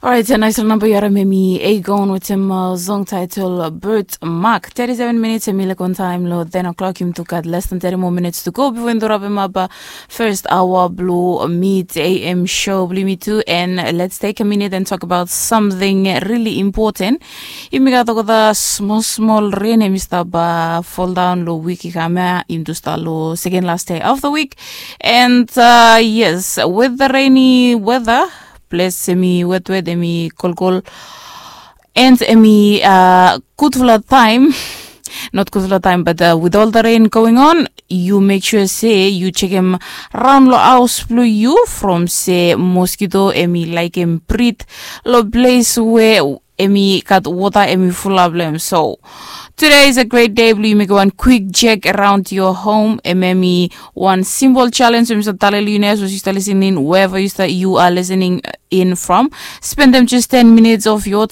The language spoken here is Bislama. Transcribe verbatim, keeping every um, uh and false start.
Orait, nais long namba yu harim em i Aegon wetem song title Bird Mark. Thirty-seven minutes em i lek on taem long ten o'clock. Yumi tu gat less than thirty more minutes to go before yumi tu rapem ap first hour blue mid A M show blue me too. And let's take a minute and talk about something really important. Yumi gat olgeta small small rain em i stap fall down long wik i kam ya. Yumi tu stap long second last day of the week. And uh, yes, with the rainy weather, ples em i wetwet, em i kolkol, and em i uh, gudfala taem. Not gudfala taem, but uh, with all the rain going on, you make sure se you chekem raon long haos blong yu from se mosquito em i laekem brit long ples we em i gat wota em i fulap long em. So today is a great day blong yu mekem wan quick check around your home. Em em i wan simple challenge em i stap talem long yu nao, so yu stap listening wherever you start, you are listening in from. Spendem just ten minutes of your time